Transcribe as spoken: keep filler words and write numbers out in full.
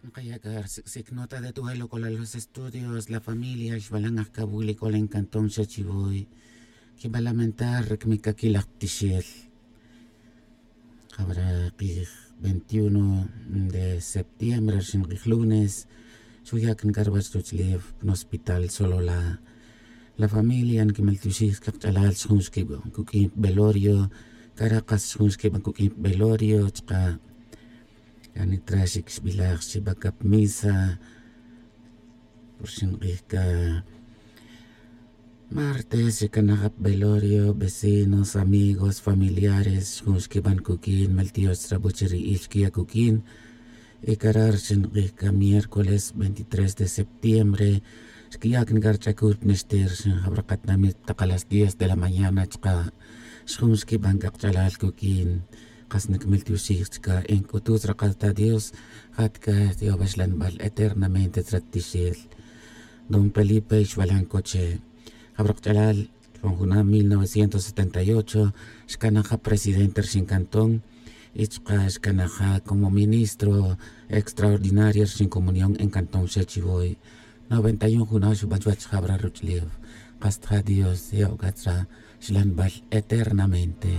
Kaya' k'a rsic'sic nota de tu welo k'ola los estudios la familia xbalan ajkawil y k'ola en cantón xa chivoy. Quiba lamentar ri camic c'aquil laj tixel. Jabra kij veintiuno de septiembre rixin kij lunes xuya' can c'a ruwach ruch'ulef pan hospital solola. La familia niquimel tioxij cakch'alal xjun xquiban cuq'uin pa belorio. Cara' kas xjun xquiban cuq'uin pa belorio chka' cani tra xic xbilaj xiba ca pa misa. Por xink'ij ca martes xicanaj ap belorio vecinos amigos familiares xjun xquiban cuq'uin mel tiox chrabuch ri il xquiya' cuq'uin. Y cara' ri xink'ij ca miércoles veintitrés de septiembre xquiya' can c'a rich'acul pa nixtir xinjabra katinamit tak a las diez de la mañana chka' xjun xquiban c'a kach'alal cuq'uin. Kas niquimel tioxij chka' en c'ututz rakal ta dios. Jat c'a tiobaxlanbal eternamente tzrat tixel. Don felipe xbalan coche jabra kach'alal. Pan juna' mil novecientos setenta y ocho xcanaj ja presidente rixin cantón. Y chka' xcanaj ja como ministro extraordinario rixin comunión en cantón xa chivoy. Noventa y un juna' xuban chuwach jabra ruch'ulef. Kas ta ja dios ya' uc'atzra xlanbal eternamente.